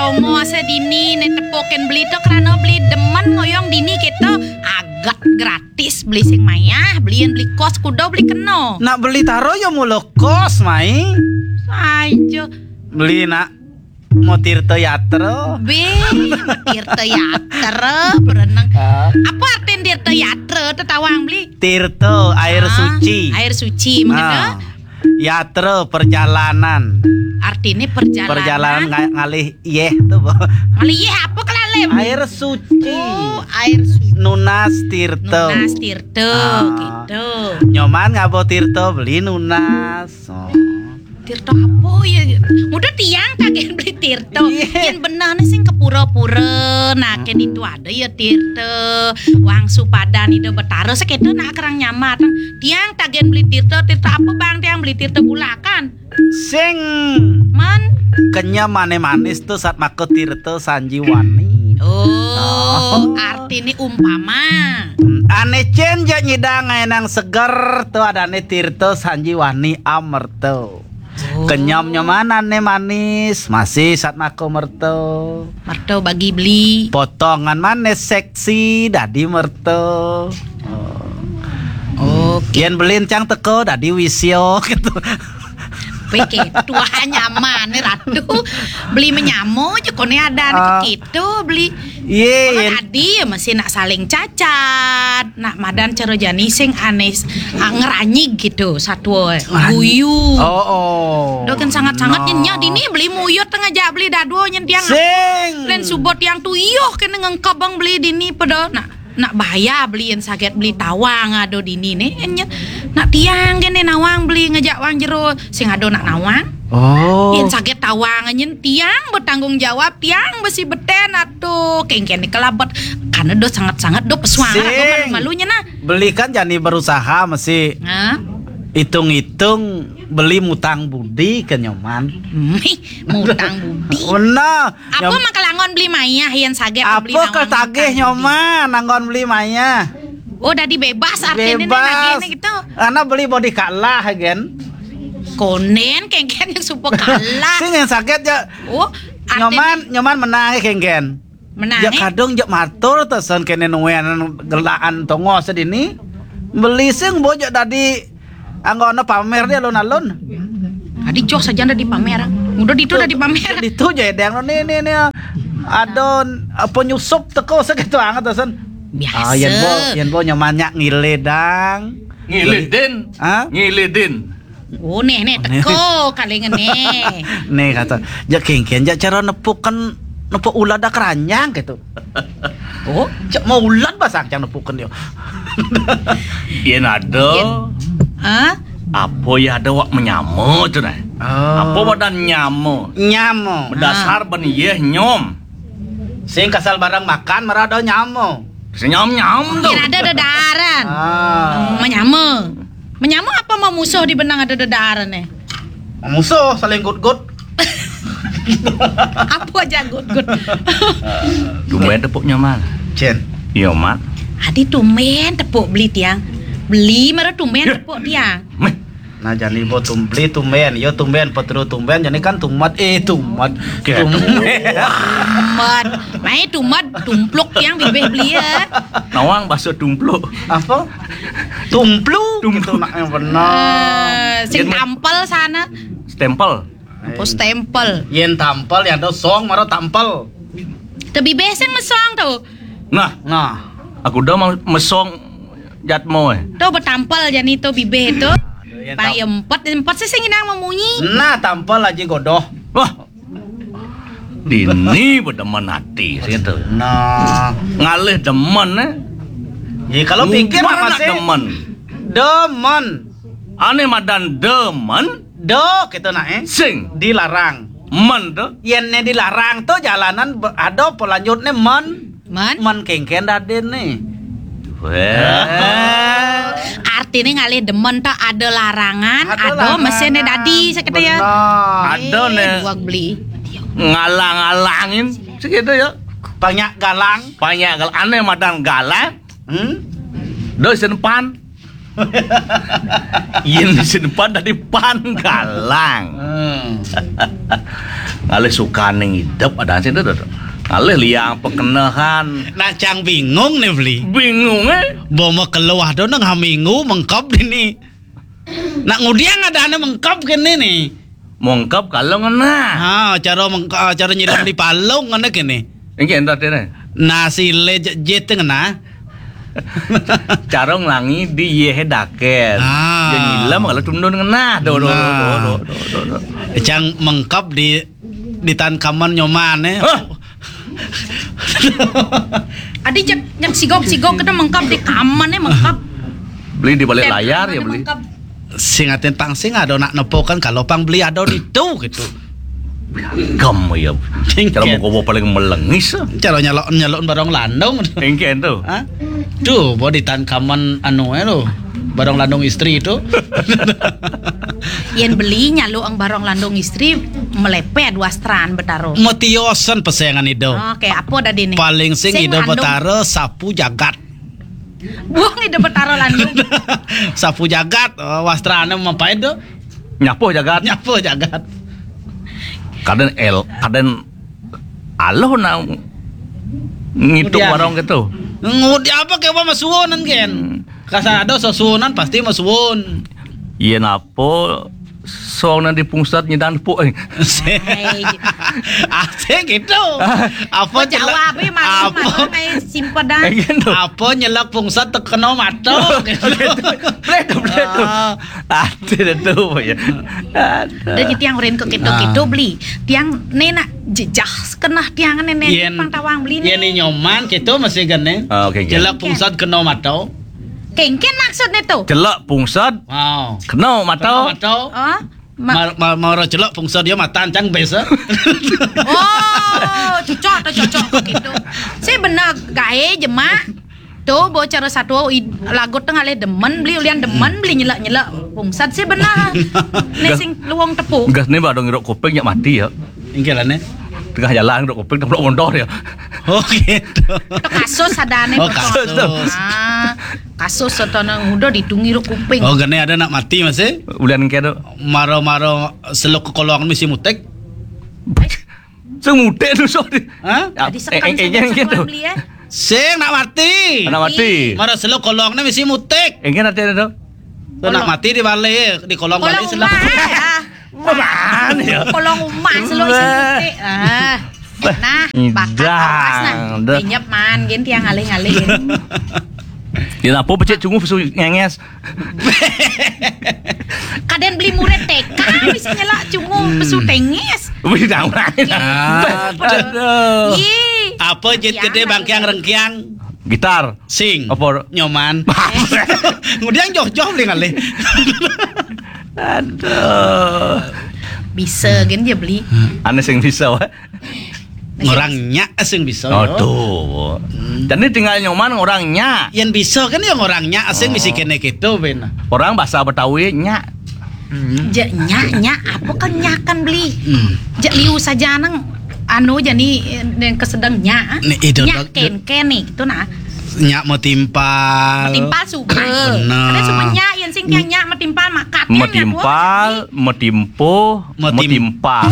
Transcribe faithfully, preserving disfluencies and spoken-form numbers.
Omo asa dini né tepukin beli to krana beli demen ngoyong dini kéto. Aget gratis beli sing mayah, beliin beli kos kuda beli kena. Nak beli taro ya mula kos, Mai. Aja. Beli nak mau tirta yatra. Bé, tirta yatra, berenang. Ah. Apa artin tirta yatra, tetawang beli? Tirta, air Ah, suci. Air suci, mengena? Ah. Yatra, perjalanan. Artinya perjalanan. Perjalanan nga-, ngalih yéh to, Bo. Ngalih yéh apa kelalem? Air suci. Oh, air suci. Nunas tirta. Nunas tirta, Ah. Gitu. Nyoman ngaba tirta beli nunas. Oh. Tirta apa ya? Mudah tiang kaget beli tirta. Iya. Yang benar nih sing ke pura-pura. Nah, kayak Mm-mm. Itu ada ya tirta. Wang supadan ida betara seketu nak kerang nyamat. Tiang tagen beli tirta, tirta apa bang tiang beli tirta bulakan? Sing Man. Kenyam manis-manis tuh saat maka tirta sanjiwani. Oh, Oh. Artinya umpama. Hmm, ane cen ja nyidang enang seger tuh adane tirta sanjiwani amerta. Oh. Kenyam nyamanane manis, masih saat maka merta. Merta bagi beli. Potongan manis seksi dadi merta. Oh. Oke. Yen belin cang teko dadi wisya gitu. Peke tuah nyaman nih ratu. Beli menyamo aja kone ada Ah. Gitu beli. Iya, Orang iya. Adi ya masih nak saling cacat, nak madan cara jani sing aneh, ah, ngeranyig gitu, satwa Ngeranyig. Guyu. Oh, oh. Doken sangat-sangat No. Nyenyah dini beli muyut tengah jak beli dadua nyen tiang. Sing. Len subot tiang tu iyoh kena ngengkabang beli dini pada nak nak bahaya beli yang sakit beli tawang ado dini nih nyen nak tiang kene nawang beli ngejak wang jero sing ado nak nawang. Oh. Yang sakit tawang nyen tiang bertanggung jawab tiang besi beten atuh kengken kelabet karena do sangat-sangat do pesuang Sing. Malu-malunya nah. Beli kan jani berusaha mesti Hah? Hitung-hitung beli mutang budi ke nyoman. Mih, mutang budi. Benar. Apa Nyom- maka langon beli mayah yang saget Apa beli nawang ketagih mutang budi? Nyoman nanggon beli mayah. Oh, dadi bebas artinya Bebas. Lagi gitu. Karena beli body kalah gen. Konen kengken yang supo kalah. Sing yang sakit ya. Oh, artinya Nyoman, nyoman menang ya kengken. Menang, Ya eh? Kadung jek matur tesen kene nuwen gelaan tongo sedini. Beli sing bo jek dadi anggona pamer dia alun-alun. Tadi joh saja udah dipamer. Udah ditu udah dipamer. Ditu je deng ni ni ni. Adon apa nyusup teko segitu anget tesen. Biasa. Ah, yen bo, yen bo nyaman nyak ngile dang. Ngile din. Hah? Ngile din. Oh, nih, nih, teko kalingan nih. Nih kata, jak kengken, jak cara nepukan, nepuk ulat dak keranjang gitu. Oh, cek mau ulat basang cang nepukan yo. Yen ada. Yen, hah? Apa ya ada wak menyama tu nah. Oh. Apa badan nyama? Nyama. Berdasar Ah. Ben yeh nyom. Sing kasal barang makan marada nyama. Senyam-nyam tu. Kira ada dedaran. Ah. Menyama. Menyama apa mau musuh di benang ada dedaran nih? Musuh saling gut-gut. Apa aja gut-gut? Tumben tepuk nyaman. Cen. Iya, Mat. Adi tumben tepuk beli tiang. Beli mara tumben Ya. Tepuk tiang. Meh. Nah, jani bo tum-, beli tumben, yo tumben, petru tumben, jani kan tumat, eh, tumat. Kayak tumben. Tumat. Mai tumat, tumpluk yang bibih beli ya. Nawang bahasa tumpluk. Apa? Tumplu, Tumplu. Gitu nak yang benar. Eh, sing Yen ma- tampel sana. Stempel. Apa stempel? Yen tampel, yang ada song, mara tampel. Te bibih sing mesong tu. Nah, Nah. Aku dah mau mesong jatmo eh. Tu betampel jani tu bibih tu. Yang tam- Pai empat, empat sih sing inang memunyi. Nah, tampel aja godoh. Wah. Dini bedemen hati situ. Nah. Ngalih demen eh. Ya kalau pikir Mubar masih demen. Demen. Ane madan demen. Do kita nak eh. Sing. Dilarang. Men tu. Yen ne dilarang tu jalanan be-, ada pelanjut ne men. Man? Man kengken dadin ni. Weh. Artinya ngalih demen tak ada larangan, Ada ada larangan. Mesin dadi sakit ya. Benar. Ada Eh, ne. Buat beli. Ngalang-alangin segitu ya. Banyak galang. Banyak galang. Aneh madan galang. Hmm? Dosen pan. Yen disimpan dari pan galang. Hmm. Ngalih sukaning idup ada sih tu. Ngalih liang pekenehan. Nak cang bingung nih beli. Bingung eh. Bo makeluh tu nang haminggu mengkop dini. Nak ngudiang ada anak mengkop kene nih. Mengkop kalau ngena. Ha, cara mengkop, cara nyilam di palung ngena kene. Engke entar tene. Nasi le jet ngena. Cara nglangi di ye daket. Ah. Dia nyilam kalau tundun ngena. Do do do do do do. Cang mengkop di di tan kaman nyoman eh. Hah? Adi jak jak sigok-sigok kita mengkap di kaman eh mengkap. Beli di balik layar ya beli. Sing aten pang sing ada nak nepokan kalau pang beli ada di tu gitu. Gam ya. Cara mau kobo paling melengis. Cara nyalok nyalok barong landong. Engke tu. Hah? Tuh, bo di tan kaman anu eh lo. Barong landong istri itu. Yen beli nyaluk ang barong landong istri melepet wastran betaro. Metiosen pesengan ido. Oke, apa dadi nih? Paling sing ido betaro sapu jagat. Buang ido betaro landung. Sapu jagat, oh, wastrane mapain tu? Nyapuh jagat. Nyapuh jagat. Kaden el, kaden aloh na ngituk warong gitu. Ngudi apa ke apa masuonan ken? Kasar ada sesuonan pasti masuon. Iya napa song nang di pungsat nyedan puk eh. Asik gitu. Apa jawab eh malu malu kayak simpedan. Apa nyelak pungsat tekeno mato gitu. Beli tu beli tu. Ati dah tu ya. Dah tiang urin ke keto-keto beli. Tiang nenak jejah kenah tiang nenek pang tawang beli nih. Yen nyoman keto masih gane. Jelak pungsat keno mato. Kengken maksudnya tu. Jelak pungsat. Wow. Keno mato. Keno mato. Oh. Mar mar mara jelak pungsat dia matan cang bes. Oh, cocok tu cocok kok gitu. Si benar gae jemak. Tu bo cara satu lagu tengah le demen beli ulian demen beli nyelak-nyelak pungsat si benar. Nek sing luang tepuk. Gas ni badong iruk kuping nyak mati ya. Ingke lah ne. Tengah jalan iruk kuping tepuk mondor ya. Oh gitu. Kasus ada ne. Oh kasus. Ah, kasus atau nang udah ditungi iruk kuping. Oh gane ada nak mati masih. Ulian ke tu. Maro-maro seluk ke kolong misi mutek. Sing mudik tu sorry. Hah? Jadi sekan eh, eh, eh, gitu. Beli ya. Sing nak mati. Nak mati. Mara seluk kolongne mesti mutik. Engke ate tu. Tu nak mati di bale, di kolong bale seluk. Kolong rumah, eh, ah. Mana ya? Kolong rumah seluk isi mutik. Ah. Nah, bakat awas nah. Dah. Dinyep man gin tiang ngalih-ngalih gin. Ya apa becik cunguh pesu ngenges. Kaden beli murid T K bisa nyelak cunguh pesu tengis. Wih, jangan. Aduh. Ih. Apa jit gede bangkiang rengkiang? Gitar. Sing. Apa? Nyoman. Ngudiang joh-joh beli ngalih. Aduh. Bisa gin dia beli. Ane sing bisa wae. Ngorang nyak sing bisa. Aduh. Jadi tinggal nyoman ngorang nyak. Yen bisa kan ya ngorang nyak sing misi kene gitu ben. Orang bahasa Betawi nyak. Jak nyak nyak apa kan nyak kan beli. Jak liu saja nang anu jani yang kesedang nyak. Nyak ken ken nih gitu nah. Nyak mau timpal. Timpal suka. Benar. Ada semua nyak yang sing tiang nyak mau timpal makat. Mau timpal, mau timpo, mau timpal.